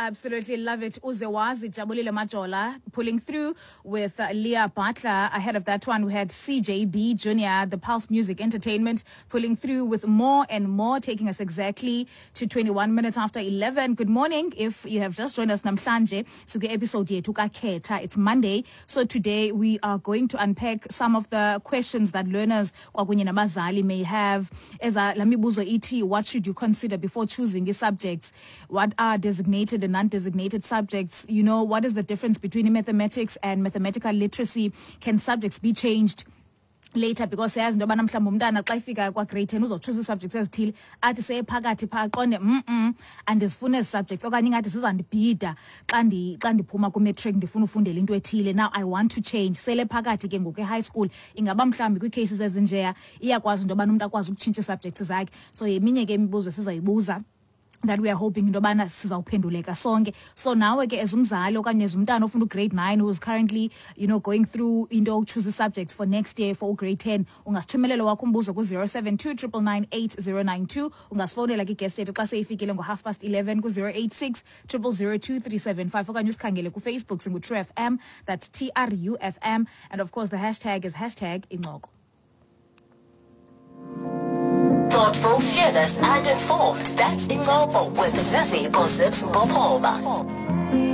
Absolutely love it. Uzewazi Jabulile Majola pulling through with Leah Butler. Ahead of that one, we had CJB Jr., the Pulse Music Entertainment, pulling through with more and more, taking us exactly to 21 minutes after 11. Good morning. If you have just joined us, namhlanje, so the episode yethu kaKhetha. It's Monday. So today we are going to unpack some of the questions that learners kwakunye nabazali may have. Eza la mibuzo ithi, what should you consider before choosing the subjects? What are designated and non-designated subjects? You know, what is the difference between mathematics and mathematical literacy? Can subjects be changed later? Because siyazi into yobana mhlawumbi umntana xa ifika kwa-grade 10 uzotshuza ii-subjects ezithile, athi seyephakathi phaa aqonde, andizifuni ezi subjects," okanye ingathi zizandibhida xa xa ndiphuma ku-matric ndifuna ufundela into ethile. Now I want to change sele phakathi ke ngoku e-high school. Ingaba mhlawumbi kwii-cases ezinjeya iyakwazi into yobana umntu akwazi ukutshintsha ii-subjects zakhe? So yeminye ke imibuzo esizayibuza that we are hoping into yobana sizawuphenduleka sonke. So nawe ke as umzali okanye as umntana ofunda u-grade 9 who is currently going through into yokuchoose subjects for next year for u-grade 10, ungasithumelela wakho umbuzo ku-072 999 8092. Ungasifowunela ke-guest yethu xa seyifikile ngo-11:30 ku-086 000 2375, okanye usikhangele kuFacebook, singu-True FM, that's TRUFM, and of course the hashtag is #Incoko. Thoughtful, fearless, and informed. That's Incoko with Zizipho Zips Mpophoma.